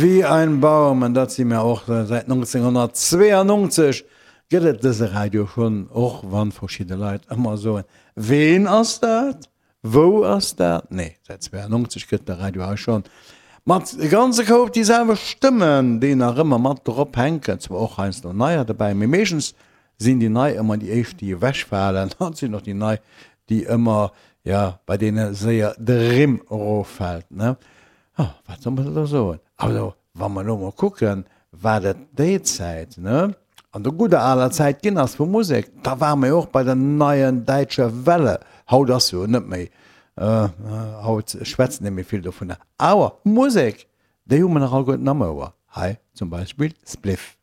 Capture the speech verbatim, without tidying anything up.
Wie ein Baum, an dat si mir och. Säit nonzénghonnertzweeanonzeg gëtt et dëse Radio schonn, och wann verschidde Leit ëmmer soen, Ween ass dat? Wou ass dat? Nee, säit zweeanonzeg gëtt de Radio hei schonn. Mat e ganze Koup déi selwecht Stëmmen, déi nach ëmmer mat drop hänken, zwar och heiansdo neier dobäi, mee meeschtens sinn déi nei ëmmer déi éischt, déi ewechfalen, an et sinn och déi nei, déi ëmmer, jo, bei deene séier de Rimm eroffält, ne? Oh, wat soll mer da soen? Also, wa mer elo mol kucken, wat et déi Zäit, ne, an der gudder aler Zäit ginn ass vu Musek, da ware mer jo och bei der Neuen Deutsche Welle. Haut ass jo net méi, haut schwätzt een net méi vill dovunner. Awer Musek, déi hu mer nach alleguerten am Ouer. Hei zum Beispill Spliff.